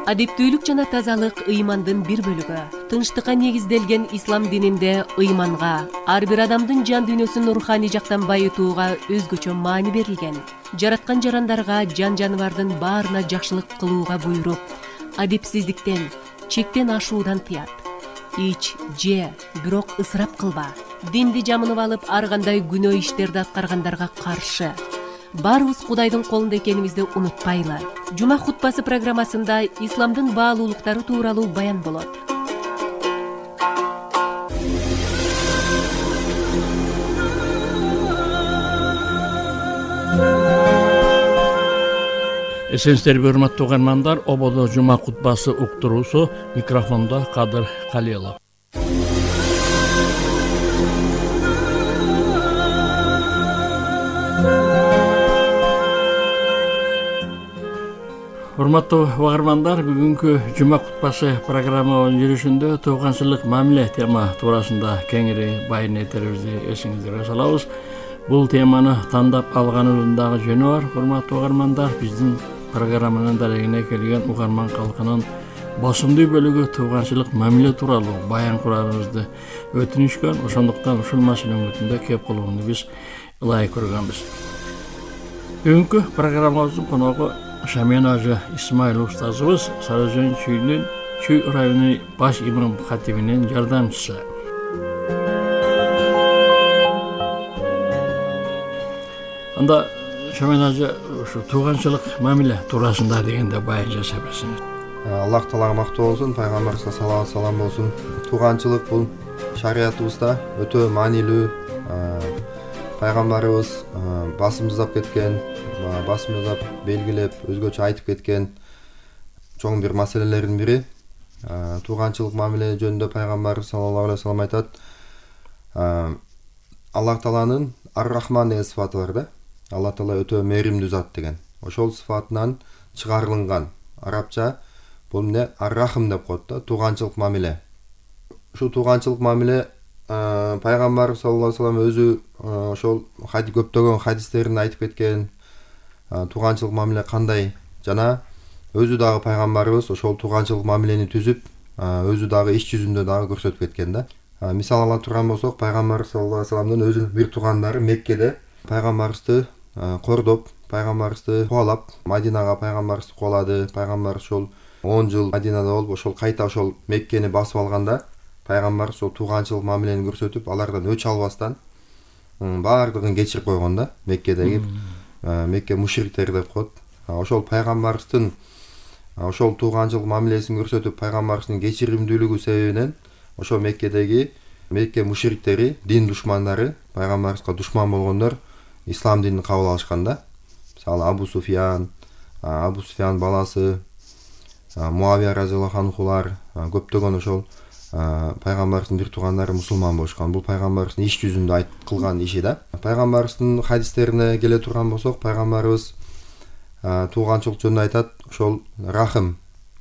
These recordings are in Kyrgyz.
Адептүүлүк жана тазалык ыймандын бир бөлүгү. Тынчтыкка негизделген ислам дининде ыйманга, ар бир адамдын жан дүйнөсүн руханий жактан байытууга өзгөчө маани берилген. Жараткан жарандарга, жан-жаныбардын баарына жакшылык кылууга буйруп, адепсиздиктен, чектен ашуудан тыят. Ич, же, бирок ысырап кылба. Динди жамынып алып, ар кандай күнөө иштерди аткаргандарга каршы. Баарыбыз Кудайдын колунда экенибизди унутпайлы. Жума хутбасы программасында исламдын баалуулуктары тууралуу баян болот. Эсенсиздерби, урматтуу угармандар, ободо жума хутбасы уктуруусу, микрофондо Кадыр Калилов. Урматтуу угармандар, бүгүнкү жума хутбасы программанын жүрүшүндө тууганчылык мамиле тема туурасында кеңири баян этерибизди эсиңиздерге салабыз. Бул теманы тандап алганыбыздын дагы жөнү бар. Урматтуу угармандар, биздин программанын дарегине келген угарман калкынын босумдуу бөлүгү тууганчылык мамиле тууралуу баян курарыбызды өтүнүшкөн. Ошондуктан ушул маселенин өтүндө кеп калууну биз ылайык көргөнбүз. Бүгүнкү программабыздын коногу Шамен Ажы Исмаил устазыбыз, Сарыөзөн чүйүнүн Чүй районунун баш имам хатибинин жардамчысы. Анда Шамен Ажы ушу тууганчылык мамиле туурасында дегенде баян жасап берсеңиз. Аллах Таалага мактоо болсун, пайгамбарыбызга салават салам болсун. Тууганчылык бул шариятыбызда өтө маанилүү. Пайгамбарыбыз басым жасап кеткен, басым жасап белгилеп, өзгөчө айтып кеткен чоң бир маселелердин бири. Тууганчылык мамиле жөнүндө пайгамбарыбыз саллаллаху алейхи вассалам айтат: Аллах Тааланын Ар-Рахман деген сыфаты бар да. Аллах Таала өтө мээримдүү зат деген. Ошол сыфатынан чыгарылган арабча бул эмне? Ар-Рахм деп коет да, тууганчылык мамиле. Ушу тууганчылык мамиле пайгамбар саллаллаху алейхи вассалам өзү ошол көптөгөн хадистеринде айтып кеткен тууганчылык мамиле кандай, жана өзү дагы пайгамбарыбыз ошол тууганчылык мамилени түзүп, өзү дагы иш жүзүндө дагы көрсөтүп кеткен да. Мисал ала турган болсок, пайгамбар саллаллаху алейхи вассаламдын өзүнүн бир туугандары Меккеде пайгамбарыбызды кордоп, пайгамбарыбызды кубалап, Мадинага пайгамбарыбызды кубалады. Пайгамбар ошол 10 жыл Мадинада болуп, ошол кайта ошол Меккени басып алганда, пайгамбар ошол тууганчылык мамилени көрсөтүп, алардан өч албастан баардыгын кечирип койгон да. Меккедеги Мекке мушриктери деп коет. Ошол пайгамбарыбыздын ошол тууганчылык мамилесин көрсөтүп, пайгамбарыбыздын кечиримдүүлүгү себебинен ошол Меккедеги Мекке мушриктери, дин душмандары, пайгамбарыбызга душман болгондор ислам динин кабыл алышкан да. Мисалы Абу Суфиян баласы, Муавия разияллаху анхулар, көптөгөн ошол пайгамбарыбыздын бир туугандары мусулман болушкан. Бул пайгамбарыбыздын иш жүзүндө кылган иши да. Пайгамбарыбыздын хадистерине келе турган болсок, пайгамбарыбыз тууганчылык жөнүндө айтат, ошол рахым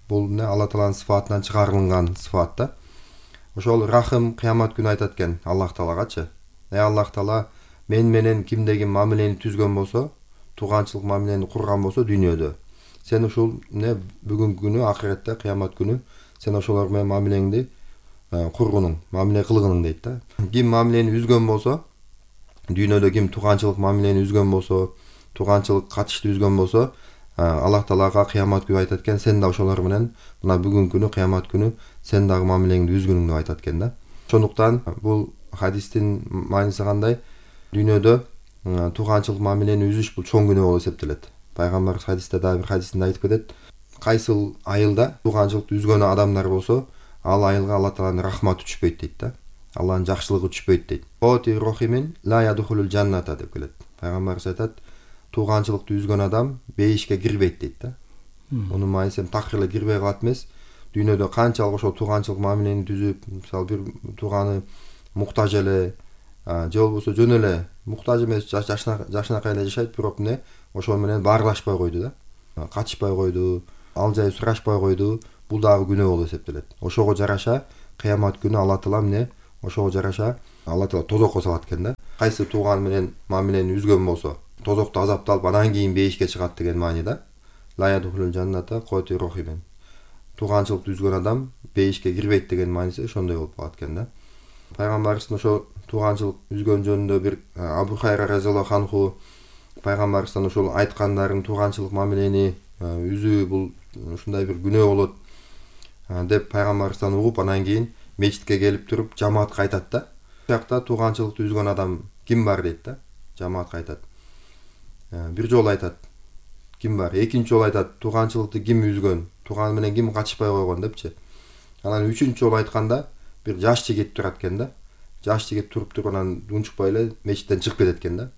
бул эмне? Алла Тааланын сыфатынан чыгарылган сыфат да. Ошол рахым кыямат күнү айтат экен Аллах Таалагачы: Аллах Таала мен менен кимдеги мамилени түзгөн болсо, тууганчылык мамилени курган болсо дүйнөдө, сен ушул эмне бүгүнкү күнү, акыретте, кыямат күнү сен ошолор менен мамилеңди кургунуң, мамиле кылгынуң дейт да. Ким мамилени үзгөн болсо, дүйнөдө ким тууганчылык мамилени үзгөн болсо, тууганчылык катышты үзгөн болсо, Аллах Таалага кыямат күнү айтат экен: сен да ошолор менен мына бүгүнкү күнү, кыямат күнү сен дагы мамилеңди үзгүнүң деп айтат экен да. Ошондуктан бул хадистин мааниси кандай? Дүйнөдө тууганчылык мамилени үзүш бул чоң күнөө болуп эсептелет. Пайгамбар хадисте дагы бир хадисинде айтып кетет: кайсыл айылда тууганчылыкты үзгөн адамдар болсо, ал айылга Алла Тааланын рахматы түшпөйт дейт да. Алланын жакшылыгы түшпөйт дейт. Оти рохимин ла ядхулул жанната деп келет. Пайгамбар айтат: тууганчылыкты үзгөн адам бейишке кирбейт дейт да. Мунун мааниси такыр эле кирбей калат эмес. Дүйнөдө канчалык ошол тууганчылык мамилени түзүп, мисалы бир тууганы муктаж эле, же болбосо жөн эле муктаж эмес, жашынакай эле жашайт, бирок эмне ошол менен баарлашпай койду да. Катышпай койду, ал жай сурашпай койду. Бул дагы күнөө болуп эсептелет. Ошого жараша кыямат күнү Алла Таала эмне? Ошого жараша Алла Таала тозокко салат экен да. Кайсы тууган менен мамилени үзгөн болсо, тозокто азапталып, анан кийин бейишке чыгат деген маани да. Ла ядхулул жанната коти рохимен. тууганчылыкты үзгөн адам бейишке кирбейт деген мааниси ошондой болуп калат экен да. Пайгамбарыбыздын ошо тууганчылык үзгөн жөнүндө бир Абу Хайра разияллаху анху пайгамбарыбыздан ошол айткандарын тууганчылык мамилени үзүү бул ушундай бир күнөө болот деп пайгамбарыбыздан угуп, анан кийин мечитке келип туруп жамаатка айтат да. Биякта тууганчылыкты үзгөн адам ким бар дейт да. Жамаатка айтат. Бир жолу айтат. Ким бар? Экинчи жолу айтат. Тууганчылыкты ким үзгөн? Тууганы менен ким качышпай койгон депчи. Анан үчүнчү жолу айтканда бир жаш жигит турат экен да. Жаш жигит туруп анан унчукпай эле мечиттен чыгып кетет экен да.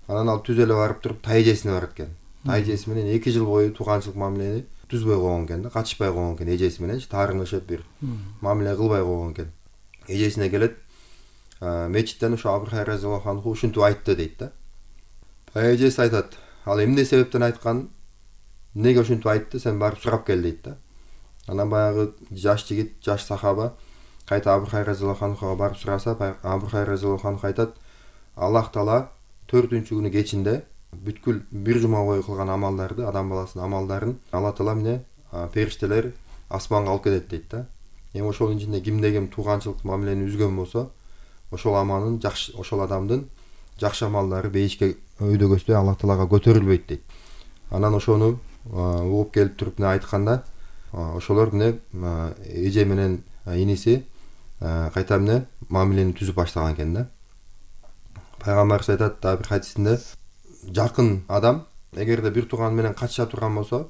Анан ал түз эле барып туруп тайжесине барат экен. Тайжеси менен 2 жыл бою тууганчылык мамилени түзбөй койгон экен да, качышпай койгон экен эжеси мененчи, таарынышып бир мамиле кылбай койгон экен. Эжесине келет. Мечиттен ошо Абу Хайра разияллаху анху ушинтип айтты дейт да. Эжеси айтат. Ал эмне себептен айткан? Эмнеге ушинтип айтты? Сен барып сурап кел дейт да. Анан баягы жаш жигит, жаш сахаба кайта Абу Хайра разияллаху анхуга барып сураса, Абу Хайра разияллаху анху айтат: Аллах Таала 4-күнү кечинде бүткүл бир жума бою кылган амалдарды, адам баласынын амалдарын Алла Таала менен периштелер асманга алып кетет дейт да. Эми ошонун ичинде кимде ким тууганчылык мамилени үзгөн болсо, ошол аманын жакшы, ошол адамдын жакшы амалдары бейишке өйдөгөстөй Алла Таалага көтөрүлбөйт дейт. Анан ошону угуп келип туруп айтканда, ошолор эже менен иниси кайта мамилени түзүп баштаган экен да. Пайгамбарыбыз айтат да бир хадисинде, жакын адам эгерде бир тууганы менен качыша турган болсо,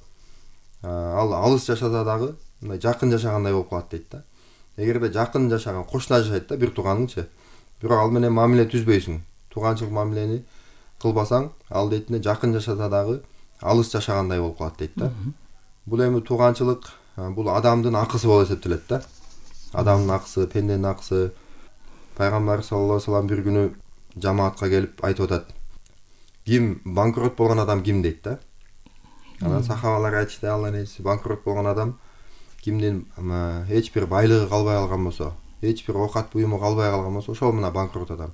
ал алыс жашаса дагы мындай жакын жашагандай болуп калат дейт да. Эгерде жакын жашаган, кошуна жашайт да бир тууганыңчы, бирок ал менен мамиле түзбөйсүң, тууганчылык мамилени кылбасаң, ал дейт жакын жашаса дагы алыс жашагандай болуп калат дейт да. Бул эми тууганчылык бул адамдын акысы болуп эсептелет да. Адамдын акысы, пенденин акысы. Пайгамбар саллаллаху алейхи вассалам бир күнү жамаатка келип айтып атат. Ким банкрот болгон адам ким дейт да. Анан сахабалар айтышты, Алланын элчиси, банкрот болгон адам кимдин эч бир байлыгы калбай калган болсо, эч бир оокат буюму калбай калган болсо, ошол мына банкрот адам.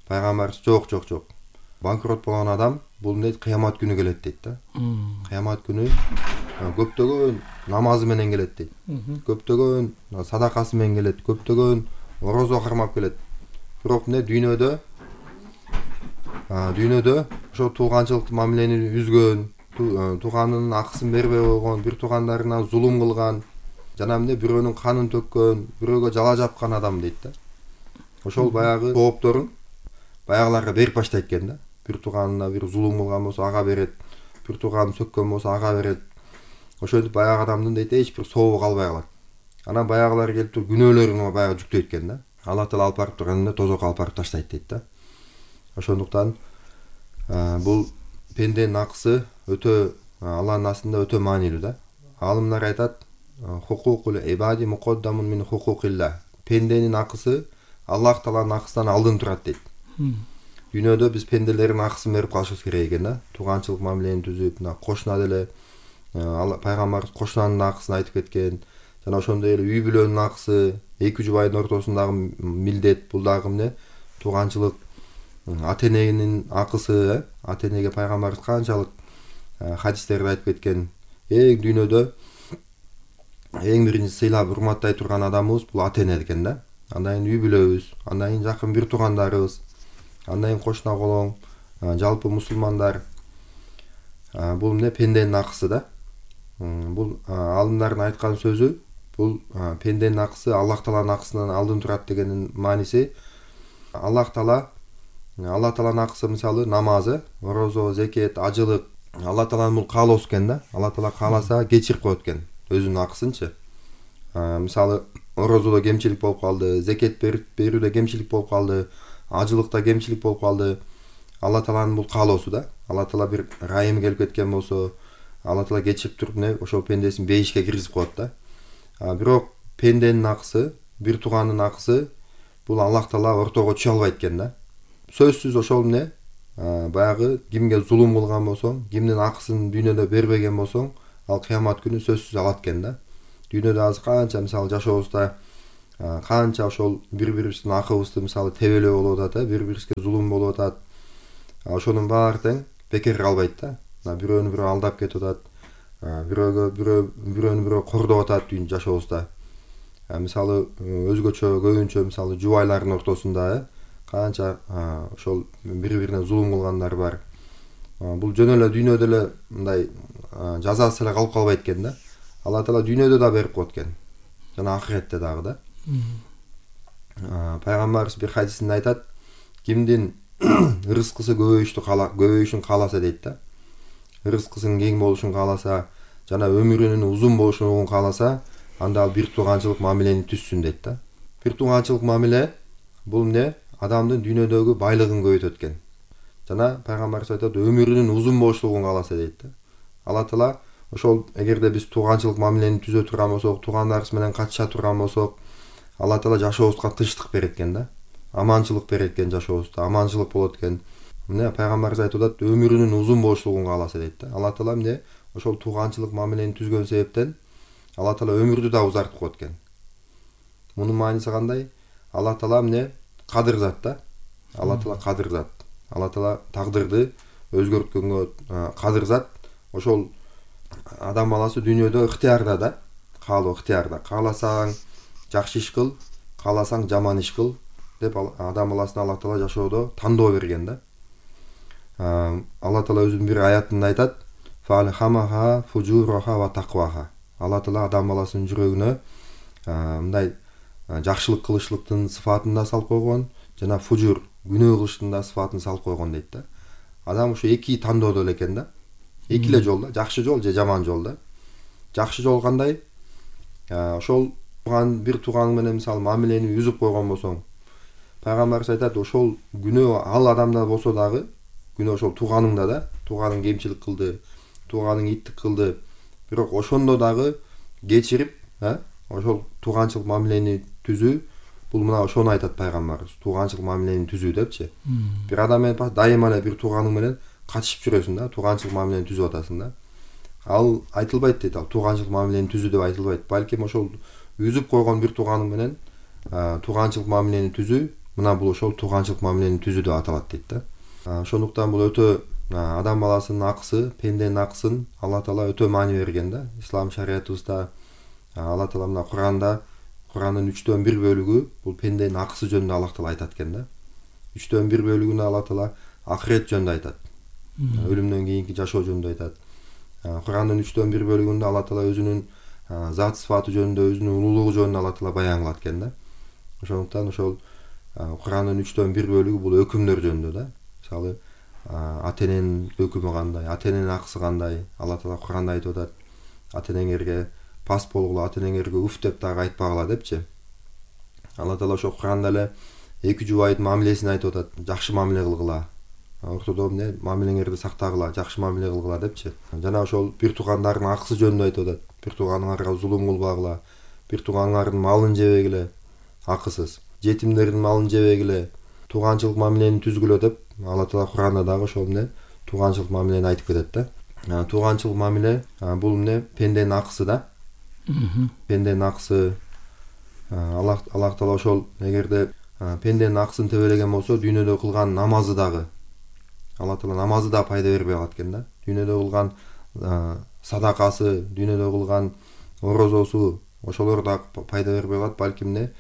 Пайгамбарыбыз жок. Банкрот болгон адам бул дейт кыямат күнү келет дейт да. Кыямат күнү көптөгөн намазы менен келет дейт. Көптөгөн садакасы менен келет, көптөгөн орозо кармап келет. Бирок дүйнөдө ошо тууганчылык мамилени үзгөн, тууганынын акысын бербей койгон, бир туугандарына зулум кылган, жана бирөөнүн канын төккөн, бирөөгө жала жапкан адам дейт да. Ошол баягы тоопторун баягыларга берип баштайт экен да. Бир тууганына бир зулум кылган болсо ага берет, бир тууганын сөккөн болсо ага берет. Ошентип баягы адамдын дейт эч бир сообу калбай калат. Анан баягылар келип туруп күнөөлөрүн баягы жүктөйт экен да. Алла Таала алып барып турганда тозокко алып барып таштайт дейт да. Ошондуктан бул пенденин акысы өтө Алланын астында өтө маанилүү да. Алымдар айтат, хукукул ибади муқаддамун мин хукукилла. Пенденин акысы Аллах Тааланын акысынан алдын турат дейт. Дүйнөдө биз пенделердин акысын берип калышыбыз керек экен да. Тууганчылык мамилени түзүп, кошуна деле пайгамбарыбыз кошунанын акысын айтып кеткен. Жана ошондой эле үй бүлөнүн акысы, эки жубайдын ортосундагы милдет, бул дагы тууганчылык. Ата-эненин акысы, ата-энеге пайгамбарыбыз канчалык хадистерде айтып кеткен. Дүйнөдө эң биринчи сыйлап урматтай турган адамыбыз бул ата-эне экен да. Андан кийин үй бүлөбүз, андан кийин жакын бир туугандарыбыз, андан кийин кошуна колоң, жалпы мусулмандар. Бул пенденин акысы да. Бул алымдардын айткан сөзү, бул пенденин акысы Аллах Тааланын акысынан алдын турат дегенин мааниси. Аллах Тааланын акысы мисалы намазы, орозо, зекет, ажылык. Алла Тааланын бул каалоосу экен да. Алла Таала кааласа кечирип коет экен өзүнүн акысынчы. Мисалы орозодо кемчилик болуп калды, зекет берүүдө кемчилик болуп калды, ажылыкта кемчилик болуп калды. Алла Тааланын бул каалоосу да. Алла Таала бир райым келип кеткен болсо, Алла Таала кечирип туруп ошол пендесин бейишке киргизип коет да. Бирок пенденин акысы, бир тууганын акысы бул Аллах Таала ортого түшө албайт экен да. Сөзсүз ошол баягы кимге зулум кылган болсоң, кимдин акысын дүйнөдө бербеген болсоң, ал кыямат күнү сөзсүз алат экен да. Дүйнөдө азыр канча мисалы жашообузда канча ошол бири-бирибиздин акыбызды мисалы тебелөө болуп атат, бири-бирибизге зулум болуп атат. Ошонун баары тең бекер калбайт да. Бирөөнү бирөө алдап кетип атат, бирөөнү кордоп атат жашообузда. Мисалы көбүнчө мисалы жубайлардын ортосунда канча ошол бири-бирине зулум кылгандар бар. Бул жөн эле дүйнөдө эле мындай жазасыз эле калып калбайт экен да. Алла Таала дүйнөдө да берип коет экен. Жана ахиретте дагы да. Пайгамбарыбыз бир хадисинде айтат, кимдин рызкысы көбөйүшүн кааласа дейт да. Рызкысынын кең болушун кааласа, жана өмүрүнүн узун болушун кааласа, анда ал бир тууганчылык мамилени түзсүн дейт да. Бир тууганчылык мамиле бул эмне? Адамдын дүйнөдөгү байлыгын көбөйтөт экен. Жана пайгамбарыбыз айтат, өмүрүнүн узун болуштугун кааласа дейт да. Алла Таала ошол эгерде биз тууганчылык мамилени түзө турган болсок, туугандарыбыз менен катыша турган болсок, Алла Таала жашообузга тынчтык берет экен да. Аманчылык берет экен жашообузда, аманчылык болот экен. Мына пайгамбарыбыз айтып атат, өмүрүнүн узун болуштугун кааласа дейт да. Алла Таала эмне? Ошол тууганчылык мамилени түзгөн себептен Алла Таала өмүрдү да узартып коет экен. Мунун мааниси кандай? Алла Таала эмне? Кадыр зат да. Алла Таала кадыр зат. Алла Таала тагдырды өзгөрткөнгө кадыр зат. Ошол адам баласы дүйнөдө ыктыярда да, каалоо ыктыярда. Кааласаң жакшы иш кыл, кааласаң жаман иш кыл деп адам баласына Алла Таала жашоодо тандоо берген да. Алла Таала өзүнүн бир аятында айтат: "Фалхамаха фужураха ва тaqvaha". Алла Таала адам баласынын жүрөгүнө мындай жакшылык кылышлыктын сыфатын да салып койгон, жана фужур, күнөө кылыштын да сыфатын салып койгон дейт да. Адам ушу эки тандоодо эле экен да. Эки эле жол да, жакшы жол же жаман жол да. Жакшы жол кандай? Ошол бир тууганың менен мисалы мамилени үзүп койгон болсоң, пайгамбарыбыз айтат, ошол күнөө ал адамда болсо дагы, күнөө ошол тууганыңда да, тууганың кемчилик кылды, тууганың иттик кылды, бирок ошондо дагы кечирип, ошол тууганчылык мамилени түзүү, бул мына ошону айтат пайгамбарыбыз, тууганчылык мамилени түзүү депчи. Бир адам менен дайыма эле бир тууганың менен катышып жүрөсүң да, тууганчылык мамилени түзүп атасың да. Ал айтылбайт дейт, ал тууганчылык мамилени түзүү деп айтылбайт. Балким ошол үзүп койгон бир тууганың менен тууганчылык мамилени түзүү, мына бул ошол тууганчылык мамилени түзүү деп аталат дейт да. Ошондуктан бул өтө адам баласынын акысы, пенденин акысын Алла Таала өтө маани берген да. Ислам шариятыбызда Алла Таала мына Куранын 3/1 бөлүгү бул пенденин акысы жөнүндө Алла Таала айтат экен да. 3/1 бөлүгүндө Алла Таала ахирет жөнүндө айтат. Өлүмдөн кийинки жашоо жөнүндө айтат. Куранын 3/1 бөлүгүндө Алла Таала өзүнүн зат сыфаты жөнүндө, өзүнүн улуулугу жөнүндө Алла Таала баян кылат экен да. Ошондуктан ошол Куранын 3/1 бөлүгү бул өкүмдөр жөнүндө да. Мисалы ата-эненин өкүмү кандай, ата-эненин акысы кандай, Алла Таала Куранда айтып атат, ата-энеңерге пас болгула, ата-энеңерге уф деп дагы айтпагыла депчи. Алла Таала ошо Куранда эле эки жубайдын мамилесин айтып атат, жакшы мамиле кылгыла. Ортодо эмне мамилеңерди сактагыла, жакшы мамиле кылгыла депчи. Жана ошол бир туугандардын акысы жөнүндө айтып атат. Бир тууганыңарга зулум кылбагыла, бир тууганыңардын малын жебегиле акысыз, жетимдердин малын жебегиле, тууганчылык мамилени түзгүлө деп Алла Таала Куранда дагы ошол эмне тууганчылык мамилени айтып кетет да. Тууганчылык мамиле бул эмне пенденин акысы да. Пенденин акысы Алла Таала ошол эгерде пенденин акысын тебелеген болсо, дүйнөдө кылган намазы дагы Алла Таала намазы да пайда бербей калат экен да. Дүйнөдө кылган садакасы, дүйнөдө кылган орозосу, ошолор да пайда бербей калат, балким эмне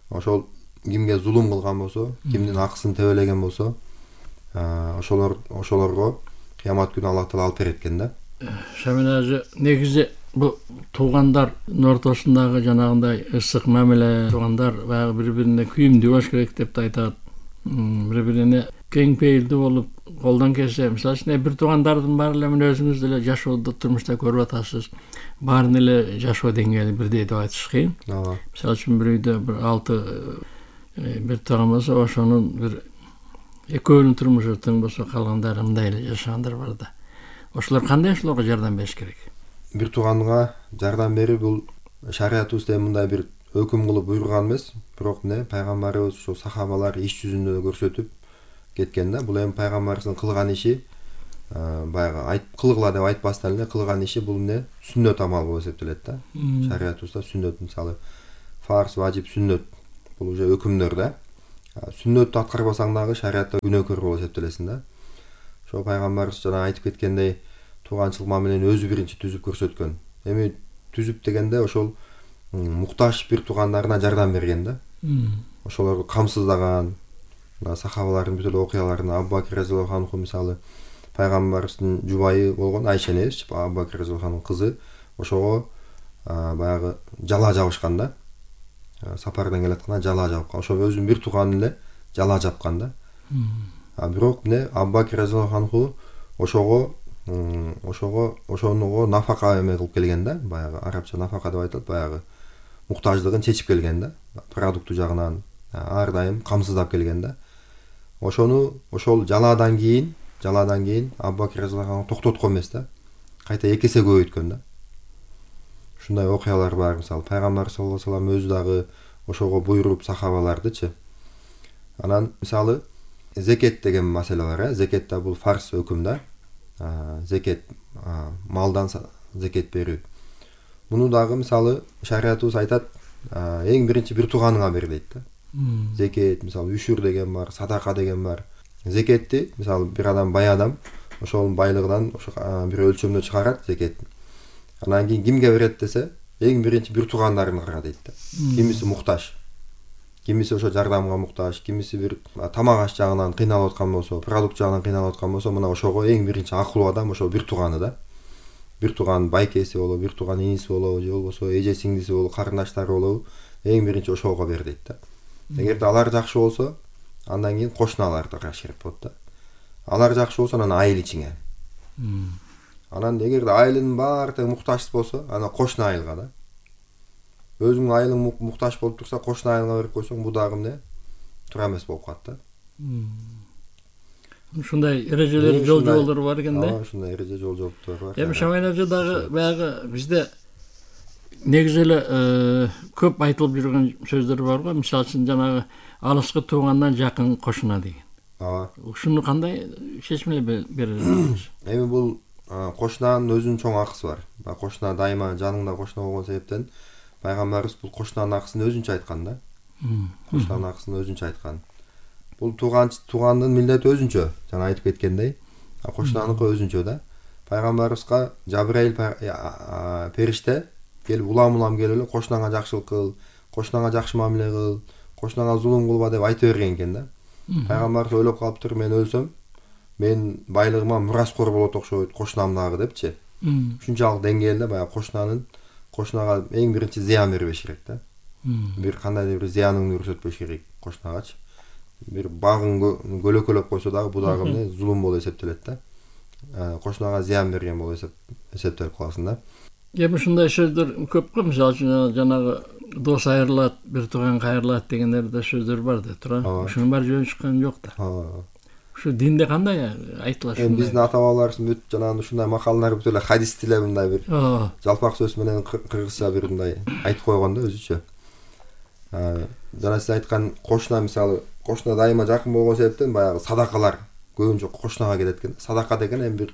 ошол кимге зулум кылган болсо, кимдин акысын тебелеген болсо, ошолорго кыямат күнү Алла Таала алып берет экен да. Шамил ажы, негизи бу туугандардын ортосундагы жанагындай ысык мамиле, туугандар баягы бири-бирине күйүмдүү болуш керек деп айтат. Бири-бирине кең пейилдүү болуп, колдон келсе, мисалы үчүн бир туугандардын баары эле мына өзүңүз деле жашоодо, турмушта көрүп атасыз. Баарынын эле жашоо деңгээли бирдей деп айтыш кыйын. Мисалы үчүн бир үйдө бир 6 бир тууган болсо, ошонун бир экөөнүн турмушу тең болсо, калгандары мындай эле жашагандар бар да. Ошолор кандай ошолорго жардам бериш керек? Бир тууганга жардам берүү бул шариятыбызда мындай бир өкүм кылып буйруган эмес, бирок эмне пайгамбарыбыз ошо сахабалар иш жүзүндө көрсөтүп кеткен да. Бул эми пайгамбарыбыздын кылган иши баягы кылгыла деп айтпастан эле кылган иши бул эмне сүннөт амал болуп эсептелет да. Шариятыбызда сүннөт, мисалы фарз, важип, сүннөт бул уже өкүмдөр да. Сүннөттү аткарбасаң дагы шариятта күнөөкөр болуп эсептелесиң да. Ошо пайгамбарыбыз жана айтып кеткендей, тууганчылык мамилени өзү биринчи түзүп көрсөткөн. Эми түзүп дегенде ошол муктаж бир туугандарына жардам берген да. Ошолорду камсыздаган, сахабалардын бүт эле окуяларын Абу Бакир разияллаху анху мисалы пайгамбарыбыздын жубайы болгон Айша энебиз, Абу Бакир разияллаху анхунун кызы, ошого баягы жала жабышкан да. Сапардан келатканда жала жапкан. Ошо өзүнүн бир тууганын эле жала жапкан да. Бирок Абу Бакир разияллаху анху ошого нафака эме кылып келген да. Баягы арабча нафака деп айтылат, баягы муктаждыгын чечип келген да. Продукту жагынан ар дайым камсыздап келген да. Ошол жалаадан кийин Абу Бакир разияллаху анху токтоткон эмес да. Кайта 2 эсе көбөйткөн да. Ушундай окуялар бар. Мисалы пайгамбар саллаллаху алейхи ва саллям өзү дагы ошого буйруп сахабалардычы. Анан мисалы зекет деген маселе бар, Зекет да бул фарз өкүм да. Зекет малдан зекет берүү. Муну дагы мисалы шариятыбыз айтат, эң биринчи бир тууганыңа бер дейт да. Зекет мисалы үшүр деген бар, садака деген бар. Зекетти мисалы бир адам бай адам ошонун байлыгынан бир өлчөмдө чыгарат зекетти. Анан кийин кимге берет десе, эң биринчи бир туугандарына дейт да. Кимиси муктаж, кимиси ошо жардамга муктаж, кимиси бир тамак аш жагынан кыйналып аткан болсо, продукт жагынан кыйналып аткан болсо, мына ошого эң биринчи акылуу адам ошо бир тууганы да. Бир тууган байкеси болобу, бир тууган иниси болобу, же болбосо эже сиңдиси болобу, карындаштары болобу, эң биринчи ошого бер дейт да. Эгерде алар жакшы болсо, андан кийин кошуналарды рашырып болот да. Алар жакшы болсо анан айыл ичиңе. Анан эгерде айылдын баары тең муктаж болсо, анан кошуна айылга да. Өзүңүн айылың муктаж болуп турса, кошуна айылга берип койсоң, бул дагы эмне туура эмес болуп калат да. Ушундай эрежелер, жол жолдор бар экен да. Ушундай эреже, жол жоптор бар. Эми Шамайнажы дагы баягы бизде негизи эле көп айтылып жүргөн сөздөр бар го. Мисалы үчүн жанагы алыскы туугандан жакын кошуна деген. Ушуну кандай чечим эле беребиз? Эми бул кошунанын өзүнүн чоң акысы бар. Кошуна дайыма жаныңда кошуна болгон себептен пайгамбарыбыз бул кошунанын акысын өзүнчө айткан да. Кошунанын акысын өзүнчө айткан. Бул туугандын милдети өзүнчө, жана айтып кеткендей, кошунаныкы өзүнчө да. Пайгамбарыбызга Жабраил периште келип улам келип эле кошунаңа жакшылык кыл, кошунаңа жакшы мамиле кыл, кошунаңа зулум кылба деп айта берген экен да. Пайгамбарыбыз ойлоп калыптыр, мен өлсөм, мен байлыгыма мураскор болот окшойт кошунам дагы депчи. Ушунчалык деңгээлде баягы кошунага эң биринчи зыян бербеш керек да. Бир кандайдыр бир зыяныңды көрсөтпөш керек кошунагачы. Бир багын көлөкөлөп койсо дагы бул дагы эмне зулум болуп эсептелет да. Кошунага зыян берген болуп эсептелип каласың да. Эми ушундай сөздөр көп го, мисалы үчүн жанагы дос айрылат, бир тууган кайрылат дегендерде сөздөр бар да, туура. Ушунун баары жөн чыккан жок да. Ушу динде кандай айтылат? Эми биздин ата бабаларыбыз бүт жанагы ушундай макалалар бүт эле хадис тиле мындай бир жалпак сөз менен кыргызча бир мындай айтып койгон да өзүчө. Жана сиз айткан кошуна мисалы, кошуна дайыма жакын болгон себептен баягы садакалар көбүнчө кошунага келет экен. Садака деген эми бир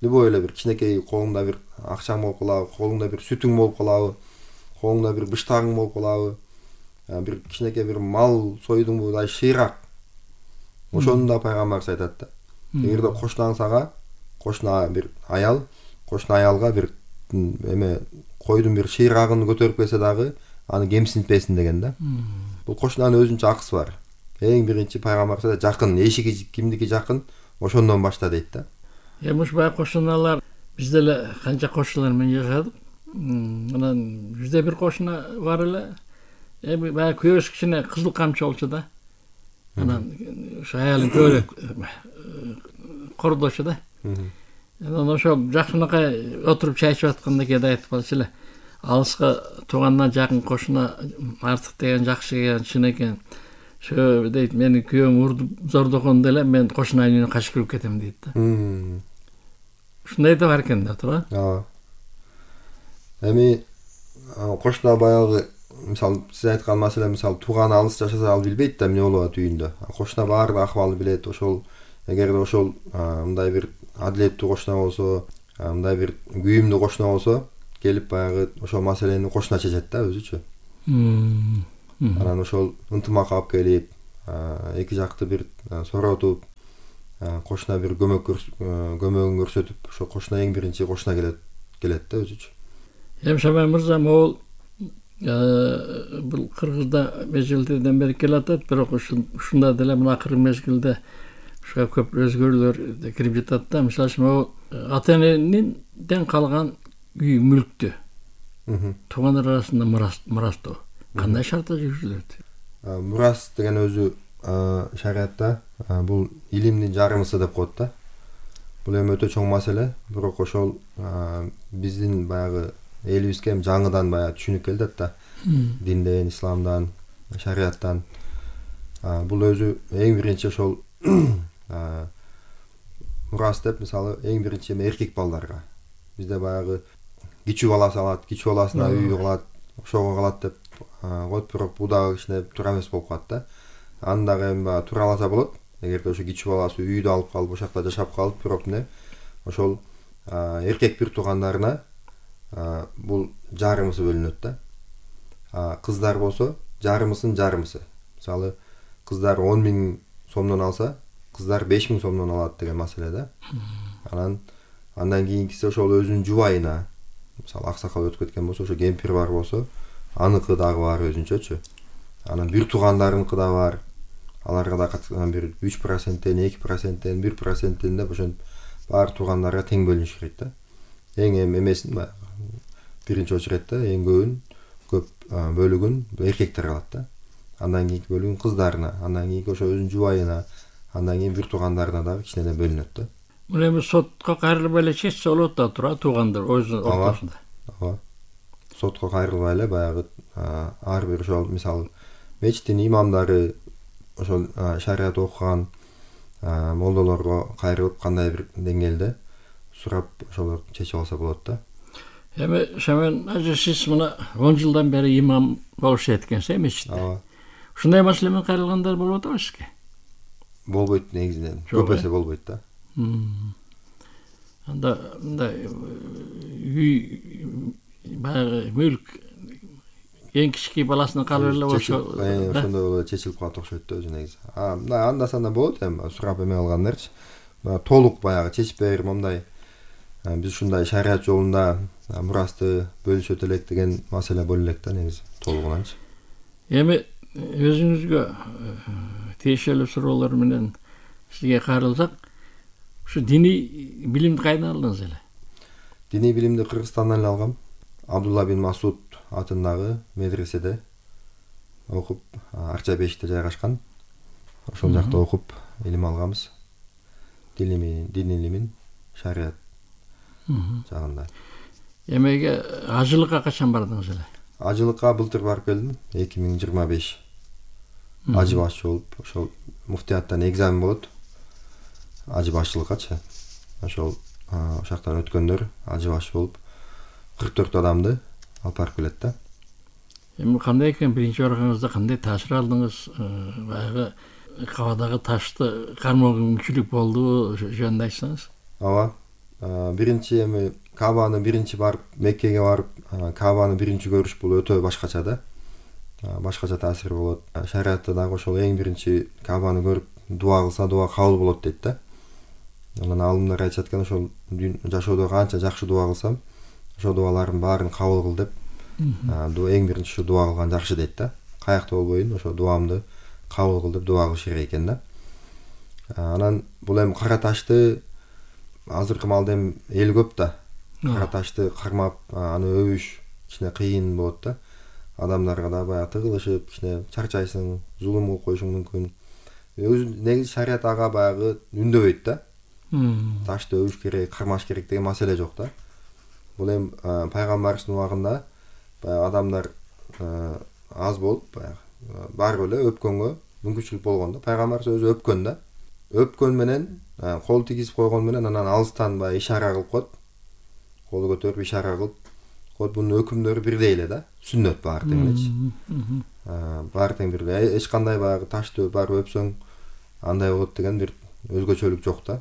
любой эле бир кичинекей колуңда бир акчаң болуп калабы, колуңда бир сүтүң болуп калабы, колуңда бир быштагың болуп калабы, бир кичинекей бир мал сойдуңбу, мындай шыйрак. Ошону да пайгамбарыбыз айтат да. Эгерде кошунаң сага, кошуна бир аял, кошуна аялга бир эме койдун бир шыйрагын көтөрүп келсе дагы аны кемсинтпесин деген да. Бул кошунанын өзүнчө акысы бар. Эң биринчи пайгамбарыбыз айтат, жакын, эшиги кимдики жакын, ошондон башта дейт да. Эми ушу баягы кошуналар бизде эле канча кошуналар менен жашадык. Анан бизде бир кошуна бар эле. Эми баягы күйөөсү кичине кызыл камчы болчу да. Анан ушу аялын көбүрөөк кордочу да. Анан ошо жакшынакай отуруп чай ичип атканда кээде айтып калчу эле. Алыска туугандан жакын кошуна артык деген жакшы экен, чын экен. Ошо дейт, мени күйөөм урдуп зордогондо эле мен кошунанын үйүнө качып кирип кетем дейт да. Ушундай да бар экен да, туура? Эми кошуна баягы мисалы сиз айткан маселе, мисалы тууганы алыс жашаса ал билбейт да эмне болуп атат үйүндө. Кошуна баардык акыбалды билет. Ошол эгерде ошол мындай бир адилеттүү кошуна болсо, мындай бир күйүмдүү кошуна болсо, келип баягы ошол маселени кошуна чечет да өзүчө. Анан ошол ынтымак алып келип, эки жакты бир соротуп, кошуна бир көмөгүн көрсөтүп ошо кошуна эң биринчи кошуна келет да өзүчү. Шамай мырза, могул бул Кыргызда мезгилдерден бери келатат, бирок ушунда деле мына акыркы мезгилде ушуга көп өзгөрүүлөр кирип жатат да. Мисалы үчүн могул ата-энеден калган үй мүлктү туугандар арасында мурастоо кандай шартта жүргүзүлөт? Мурас деген өзү шариатта бул илимдин жарымысы деп коет да. Бул эми өтө чоң маселе, бирок ошол биздин баягы элибизге жаңыдан баягы түшүнүп келет да. Динден, исламдан, шариаттан. Бул өзү эң биринчи ошол мурас деп, мисалы, эң биринчи эркек балдарга. Бизде баягы кичүү баласы алат, кичүү баласына үй калат, ошого калат деп коет, бирок бул дагы кичине туура эмес болуп калат да. Аны дагы эми туураласа болот. Эгерде ошо кичүү баласы үйдү алып калып, ошол жакта жашап калып, бирок ошол эркек бир туугандарына бул жарымысы бөлүнөт да. Кыздар болсо жарымысын жарымысы. Мисалы, кыздар 10 000 сомдон алса, кыздар 5 000 сомдон алат деген маселе да. Андан кийинкиси ошол өзүнүн жубайына, мисалы, аксакал өтүп кеткен болсо, ошо кемпир бар болсо, аныкы дагы бар өзүнчөчү. Анан бир туугандарыныкы да бар. Аларга да бир 3%-тен, 2%-тен, 1%-тен деп ошентип баары туугандарга тең бөлүнүш керек да. Эң эмесин биринчи очередте эң көп бөлүгүн эркектер алат да. Андан кийинки бөлүгүн кыздарына, андан кийинки ошо өзүнүн жубайына, андан кийин бир туугандарына дагы кичине бөлүнөт да. Мына эми сотко кайрылбай эле чечсе болот да, туура туугандар өзүнүн ортосунда. Ооба. Сотко кайрылбай эле баягы ар бир ошол мисалы мечиттин имамдары, ошол шариат окуган молдолорго кайрылып кандай бир деңгээлде сурап ошолор чечип алса болот да. Эми Шамен ажы, сиз мына 10 жылдан бери имам болуп эткенсиз мечитте. Ушундай маселе менен кайрылгандар болуп атабы сизге? Болбойт негизинен. Көп эсе болбойт да. Анда мындай үй баягы мүлк эң кички баласынын калып эле болсо, ошондой болуп чечилип калат окшойт да өзү негизи. Мындай анда-санда болот эми сурап эме кылгандарчы. Толук баягы чечип берип мындай биз ушундай шариат жолунда мурасты бөлүшөт элек деген маселе боло элек да негизи толугунанчы. Эми өзүңүзгө тиешелүү суроолор менен сизге кайрылсак, ушу диний билимди кайдан алдыңыз эле? Диний билимди Кыргызстандан эле алгам. Абдулла бин Масуд атындагы медреседе окуп, Арча-Бешикте жайгашкан. Ошол жакта окуп илим алганбыз. Дин илимин, шариат жагында. Эмеге ажылыкка качан бардыңыз эле? Ажылыкка былтыр барып келдим, 2025. Ажы башчы болуп, ошол муфтияттан экзамен болот. Ажы башчылыккачы. Ошол ошактан өткөндөр ажы башчы болуп 44 адамды алып барып келет да. Эми кандай экен биринчи барганыңызда кандай таасир алдыңыз? Баягы кабадагы ташты кармоо мүмкүнчүлүк болду, жөнүндө айтсаңыз? Ооба. Биринчи эми Кабаны биринчи барып, Меккеге барып, Кабаны биринчи көрүш бул өтө башкача да. Башкача таасир болот. Шариатта дагы ошол эң биринчи Кабаны көрүп дуа кылса, дуа кабыл болот дейт да. Анан алымдар айтышат экен, ошол жашоодо канча жакшы дуа кылсам, ошол дуалардын баарын кабыл кыл деп. Эң биринчи ушу дуа кылган жакшы дейт да. Каякта болбойн, ошо дуамды кабыл кыл деп дуа кылыш керек экен да. Анан бул эми кара ташты азыркы маалда эми эл көп да. Кара ташты кармап, аны өбүш кичине кыйын болот да. Адамдарга да баягы тыгылышып, кичине чарчайсың, зулум кылып коюшуң мүмкүн. Өзү негизи шариат ага баягы үндөбөйт да. Ташты өбүш керек, кармаш керек деген маселе жок да. Бул эми пайгамбарыбыздын убагында баягы адамдар аз болуп, баягы барып эле өпкөнгө мүмкүнчүлүк болгон да. Пайгамбарыбыз өзү өпкөн да. Өпкөн менен, кол тийгизип койгон менен анан алыстан баягы ишара кылып коет. Колу көтөрүп ишара кылып коет. Бунун өкүмдөрү бирдей эле да. Сүннөт баары тең элечи. Баары тең бирдей. Эч кандай баягы ташты барып өпсөң андай болот деген бир өзгөчөлүк жок да.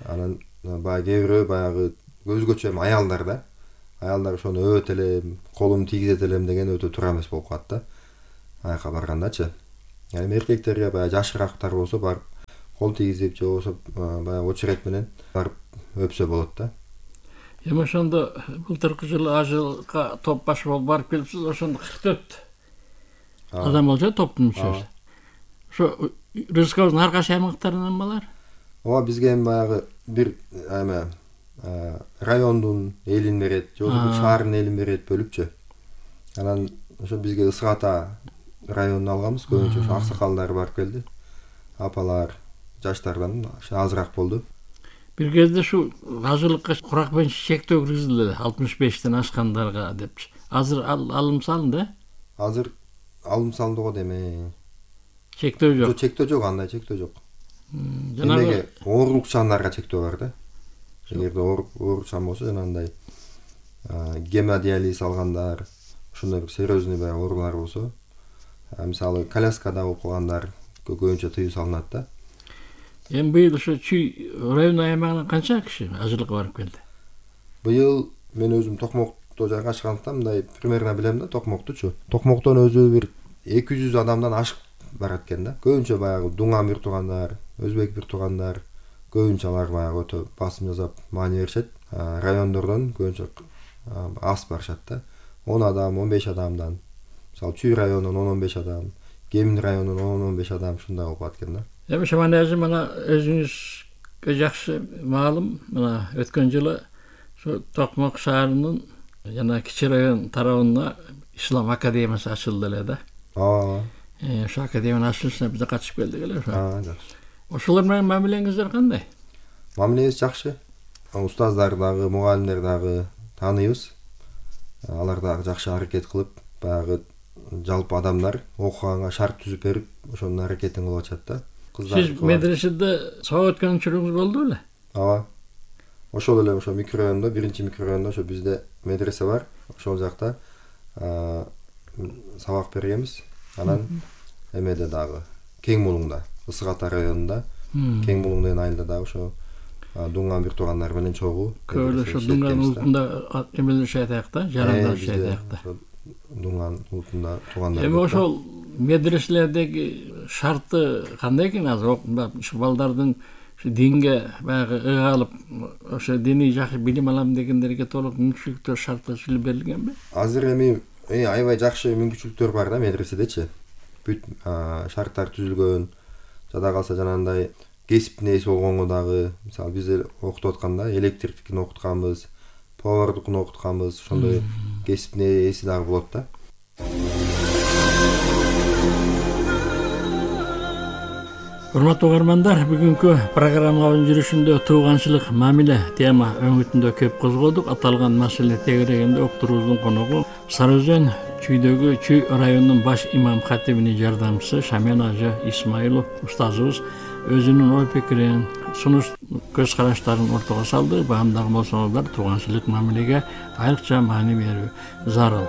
Анан баягы кээ бирөө баягы өзгөчө эми аялдар да. Аялдар ошону өбөт элем, колумду тийгизет элем деген өтө туура эмес болуп калат да. Аяка баргандачы. Эми эркектерге баягы жашыраактар болсо барып кол тийгизип же болбосо баягы очерет менен барып өпсө болот да. Эми ошондо былтыркы жылы ажылга топ баш болуп барып келипсиз, ошондо 44 адам болчу топтун мүчөсү. Ошо республикабыздын ар кайсы аймактарынан балар? Ооба, бизге эми баягы бир райондун элин берет, же болбосо бир шаардын элин берет бөлүпчү. Анан ошо бизге Ысык Ата районун алганбыз, көбүнчө ошо аксакалдар барып келди. Апалар, жаштардан азыраак болду. Бир кезде ушу ажылыкка курак менен чектөө киргизилди 65тен ашкандарга депчи. Азыр алым салынды? Азыр алым салынды го деме. Чектөө жок. Чектөө жок, андай чектөө жок. Жанагы оорукчандарга чектөө бар да. Эгерде оорукчан болсо жанагындай гемодиализ алгандар, ошондой бир серьезный баягы оорулар болсо, мисалы коляскада болуп калгандар көбүнчө тыюу салынат да. Эми быйыл ошо Чүй райондун аймагынан канча киши ажылыкка барып келди? Быйыл мен өзүм Токмокто жайгашкандыктан мындай примерно билем да Токмоктучу. Токмоктон өзү бир 200 адамдан ашык барат экен да. Көбүнчө баягы дуңан бир туугандар, өзбек бир туугандар, көбүнчө алар баягы өтө басым жасап маани беришет. Райондордон көбүнчө аз барышат да. 10 адам, 15 адамдан. Мисалы Чүй районунан 10-15 адам, Кемин районунан 10-15 адам ушундай болуп калат экен да. Эми Шаманажы мына өзүңүзгө жакшы маалым, мына өткөн жылы ошо Токмок шаарынын жана Кичи район тарабына Ислам академиясы ачылды эле да. Ооба. Ошо академиянын ачылышына биз да катышып келдик эле ошо. Жакшы. Ошолор менен мамилеңиздер кандай? Мамилебиз жакшы. Устаздар дагы, мугалимдер дагы тааныйбыз. Алар дагы жакшы аракет кылып, баягы жалпы адамдар окуганга шарт түзүп берип, ошонун аракетин кылып атышат да. Сиз медреседе сабак өткөн учуруңуз болду беле? Ооба. Ошол эле ошо микрорайондо, биринчи микрорайондо ошо бизде медресе бар. Ошол жакта сабак бергенбиз. Анан эмеде дагы Кең Булуңда, Ысык Ата районунда, Кең Булуң деген айылда дагы ошо дуңан бир туугандар менен чогуу. Көбү ошо дуңан улутунда эмелер жашайт да, жарандар жашайт да. Дуңан улутунда туугандар. Эми ошол медреселердеги шарты кандай экен азыр? Ушу балдардын динге баягы ыгалып, ошо диний жакшы билим алам дегендерге толук мүмкүнчүлүктөр шарттар берилгенби? Азыр эми аябай жакшы мүмкүнчүлүктөр бар да медреседечи. Бүт шарттар түзүлгөн. Жада калса жанагындай кесиптин ээси болгонго дагы, мисалы биз окутуп атканда электриктикин окутканбыз, повардыкын окутканбыз, ошондой кесиптин ээси дагы болот да. Урматтуу угармандар, бүгүнкү программабыздын жүрүшүндө тууганчылык мамиле тема өңүтүндө көп козгодук. Аталган маселе тегерегинде уктуруубуздун коногу Сары Өзөн Чүйдөгү Чүй районунун баш имам хатибинин жардамчысы Шаменажы Исмаилов устазыбыз өзүнүн ой пикирин, сунуш көз караштарын ортого салды. Баамдагы болсоңуздар, тууганчылык мамилеге айрыкча маани берүү зарыл.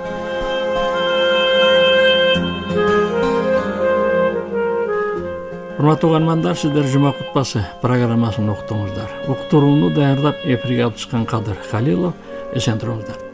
Урматтуу угармандар, сиздер жума кутбасы программасын уктуңуздар. Уктурууну даярдап эфирге алып чыккан Кадыр Халилов. Эсен туруңуздар.